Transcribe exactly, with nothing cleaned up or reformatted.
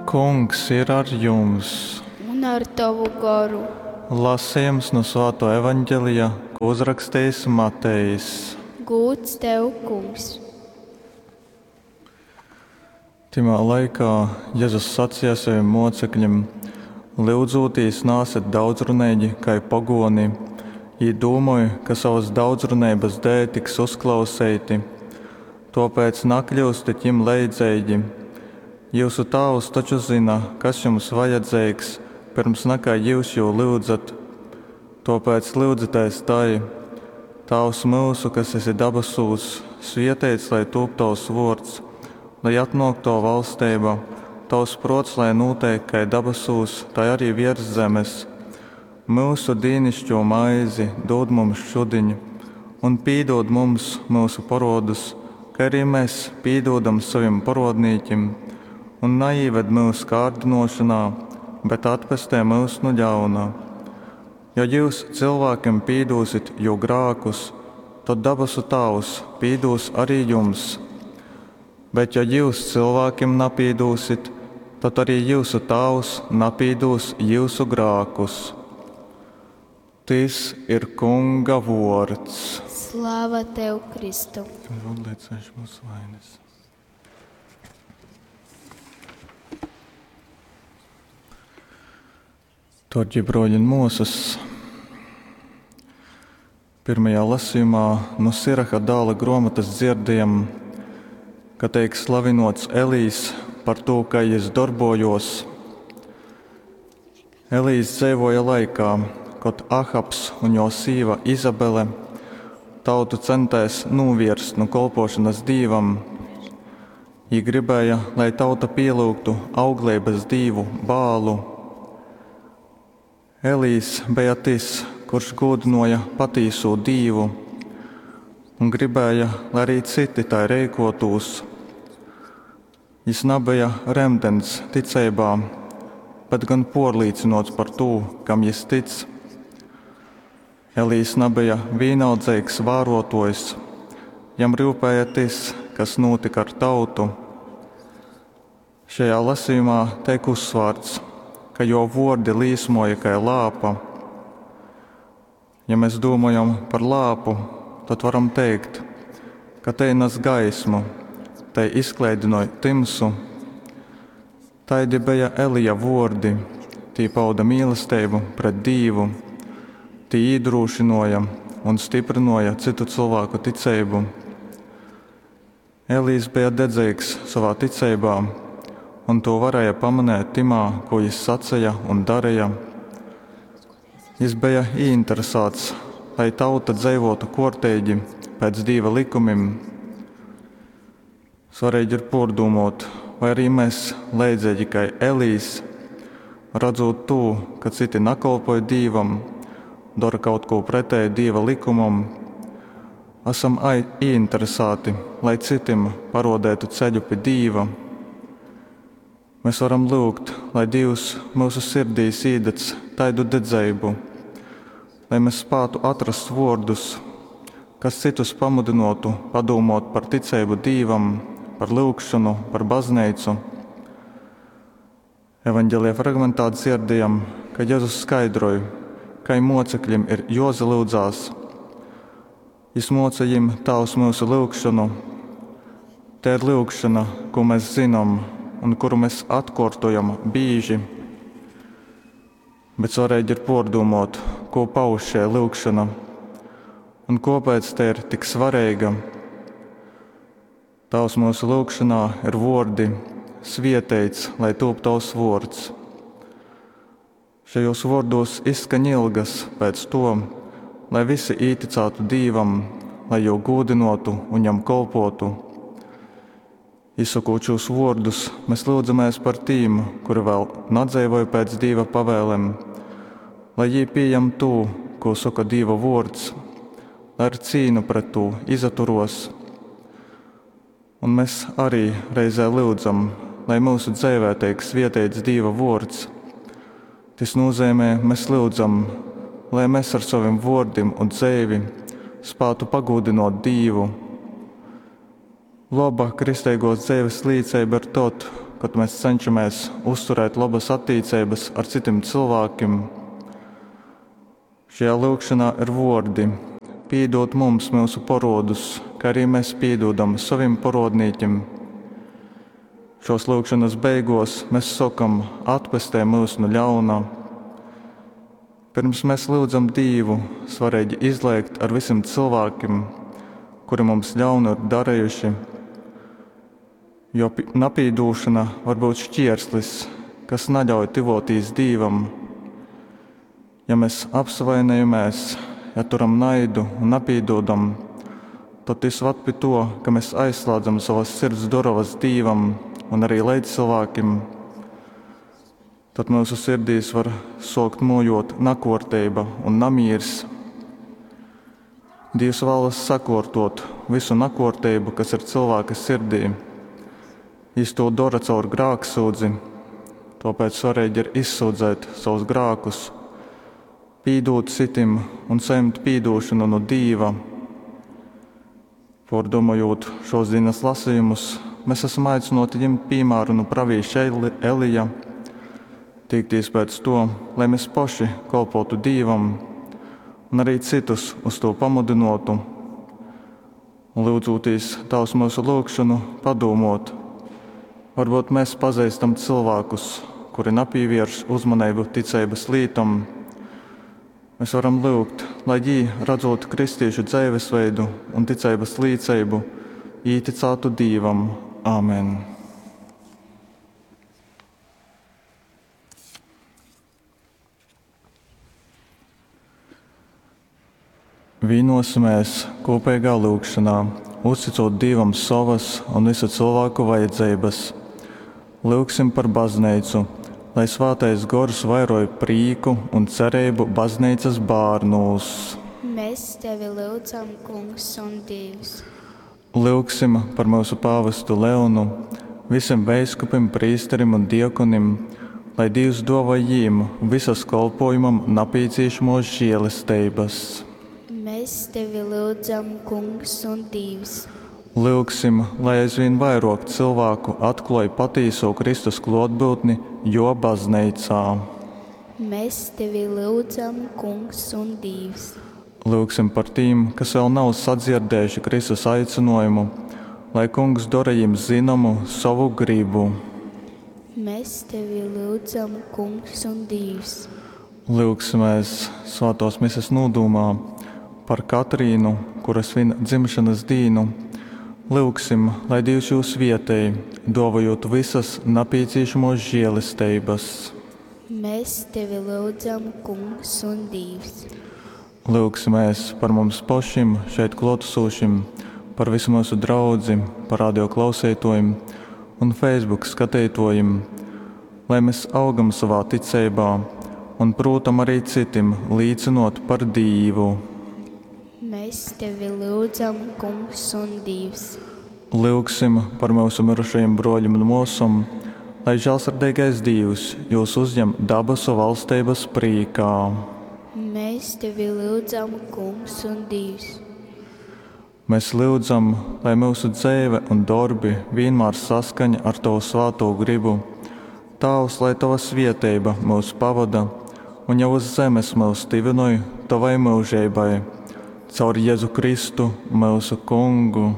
Kungs ir ar jums! Un ar tovu goru. Lasījums no Svāto Evaņģelija, ko uzrakstījis Matejs. Gūds tev, Kungs! Timā laikā Jezus sacīja saviem mocekļiem: Lyudzūtīs nāset daudzruneigi kai pogoni. Jī dūmoj, ka savas daudzruneibas dēļ tiks uzklauseiti. Tōpēc nakļyustit jim leidzeigi. Jyusu Tāvs taču zyna, kas jums vajadzeigs, pyrms nakai jyus jū lyudzat. Tōpēc lyudzitēs tai: Tāvs myusu, kas esi dabasūs, svieteits lai tūp tavs vuords, lai atnōk tava valsteiba, tavs prōts lai nūteik kai dabasūs, tai arī viers zemes. Myusu dīnišķū maizi dūd mums šudiņ, un pīdūd mums myusu porodus, kai arī mēs pīdūdam savim porodnīkim, un naīved myusu kārdinošanā, bet atpestē myus nu ļauna. Jo jūs cilvēkiem pīdūsit jū grākus, tad dabasu Tāvs pīdūs arī jums. Bet ja jūs cilvēkiem napīdūsit, tad arī jūsu Tāvs napīdūs jūsu grākus. Tys ir Kunga vuords. Slava tev, Kristu! Odliecēšu mūsu vainas. Dārgie broļi un mūsas, pirmajā lasījumā no Siraha dāla grāmatas dzirdējam, ka teik slavinots Elīs par to, kā jis darbojos. Elīs dzeivoja laikā, kad Ahabs un jo sīva Izabele tautu centēs novierst no kolpošanas dīvam. Jī gribēja, lai tauta pielūgtu augleibas dīvu Bālu. Elīs bija tas, kurš gūdinoja patīso dīvu un gribēja, lai arī citi tai reikotūs. Jis nabeja remdens ticeibā, bet gan porlīcinots par tū, kam jis tic. Elīs nabeja vīnaldzeigs vārotojs, jam rūpēja tas, kas notika ar tautu. Šajā lasījumā teik uzsvārts, ka jo vordi līsmoja kai lāpa. Ja mēs domājam par lāpu, tad varam teikt, ka te nes gaismu, te izklaidinoja timsu. Taidi bija Elija vordi, tī pauda mīlestību pret Dīvu, tī iedrošināja un stiprināja citu cilvēku ticību. Elīs bija dedzīgs savā ticībā, un to varēja pamanīt timā, ko jis sacīja un darīja. Jis bija ieinteresēts, lai tauta dzīvotu kortīgi pēc Dieva likumiem. Svarīgi ir pārdomot, vai arī mēs, leidzīgi kā Elīs, redzot to, ka citi nakalpoja Dievam, dara kaut ko pretēji Dieva likumam, esam ieinteresēti, lai citiem parodētu ceļu pie Dieva. Mēs varam lūgt, lai Dievs mūsu sirdīs īdedz taidu dedzeibu, lai mēs spētu atrast vārdus, kas citus pamudinotu padomot par ticību Dievam, par lūgšanu, par baznīcu. Evanģelija fragmentā dzirdējam, ka Jēzus skaidroja, ka mocekļiem ir jozalūdzās. Jis moca jim Tēvs mūsu lūgšanu. Te ir lūgšana, ko mēs zinām un kuru mēs atkārtojam bīži. Bet svarīgi ir pārdomot, ko pauž šī lūgšana un kāpēc te ir tik svarīga. Tavs mūsu lūgšanā ir vordi: svieteits, lai tūp tavs vords. Šajos vordos izskaņ ilgas pēc to, lai visi īticātu Dīvam, lai jū gūdinotu un jam kolpotu. Izsakot šos vārdus, mēs lūdzamies par tīm, kuri vēl nadzīvoja pēc Dieva pavēlēm, lai jī pieņem to, ko saka Dieva vārds, lai ar cīnu pret to izaturos. Un mēs arī reizē lūdzam, lai mūsu dzīvē tiek svietīts Dieva vārds. Tas nozīmē, mēs lūdzam, lai mēs ar saviem vārdiem un dzīvi spētu pagūdinot Dievu. Laba kristīgos dzīves līdzība ir tad, kod mes cenšamēs uzturēt lobas attīceibas ar cytim cylvākim. Šajā lyugšonā ir vuordi: Pīdūd mums myusu porodus, kai arī mes pīdūdam sovim porodnīkim. Šuos lyugšonys beiguos mes sokam: Atpestej myus nu ļauna. Pyrms mes lyudzam Dīvu, svareigi izleigt ar vysim cylvākim, kuri mums ļaunu ir darejuši, jo napīdūšona var byut šķierslis, kas naļauj tyvuotīs Dīvam. Ja mes apsavainojamēs, ja turam naidu un napīdūdam, tod tys vad pi tuo, ka mes aizslādzam sovas sirds durovas Dīvam un arī leidzcylvākim. Tad myusu sirdīs var suokt muojot nakuorteiba un namīrs. Dīvs vēlas sakuortot vysu nakuorteibu, kas ir cylvāka sirdī. Jis tū dora caur grāksyudzi, tuopēc svareigi ir izsyudzēt savus grākus, pīdūt cytim un sajimt pīdūšonu nu Dīva. Puordūmojūt šuos dīnys lasejumus, mes asam aicynuoti jimt pīmāru nu pravīša Elija, tīktīs pēc tuo, lai mes poši kolpotu Dīvam un arī cytus uz tū pamudynuotu. Un lyudzūtīs Tāvs myusu lyugšonu, padūmuot, varbūt mēs pazeistam cylvākus, kuri napīvierš uzmaneibu ticeibys lītom. Mēs varam lyugt, lai jī, radzūt kristīšu dzeivesveidu un ticeibys līceibu, īticātu Dīvam. Āmen! Vīnosimies kopīgā lūgšanā, uzticot Dievam savas un visu cilvēku vajadzības. Lūgsim par baznīcu, lai Svētais Gors vairoj prīku un cerību baznīcas bērnūs. Mēs tevi lūdzam, Kungs un Dievs. Lūgsim par mūsu pāvestu Leonu, visiem veiskupim, prīsterim un diekonim, lai Dievs dāvā jīm visas kolpojumam napīciešamos žēlestības. Mēs tevi lūdzam, Kungs un Dievs. Lūgsim, lai aizvien vairāk cilvēku atklāj patīso Kristus klātbūtni jo baznīcā. Mēs tevi lūdzam, Kungs un Dievs. Lūgsim par tiem, kas vēl nav sadzirdējuši Kristus aicinājumu, lai Kungs dara jiem zināmu savu gribu. Mēs tevi lūdzam, Kungs un Dievs. Lūgsimies Svētās mises nodūmā par Katrīnu, kura svin dzimšanas dīnu. Lūgsim, lai Dievs jūs vietēj, dāvājot visas napīciešamos žēlestības. Mēs tevi lūdzam, Kungs un Dievs. Lūgsimies par mums pašiem, šeit klātesošiem, par visu mūsu draudzi, par radio klausītājiem un Facebook skatītājiem, lai mēs augam savā ticībā un, protams, arī citiem līdzinot par Dievu. Mēs tevi lūdzam, Kungs un Dievs. Lūgsim par mūsu mirušajiem broļiem un māsām, lai žēlsirdīgais Dievs jūs uzņem dabasu valstības prīkā. Mēs tevi lūdzam, Kungs un Dievs. Mēs lūdzam, lai mūsu dzīve un darbi vienmēr saskaņa ar Tavu svēto gribu. Tāvs, lai Tava svieteiba mūs pavada un jau uz zemes mūs tivinoj Tavai mūžībai. Caur Jēzu Kristu, mūsu Kungu.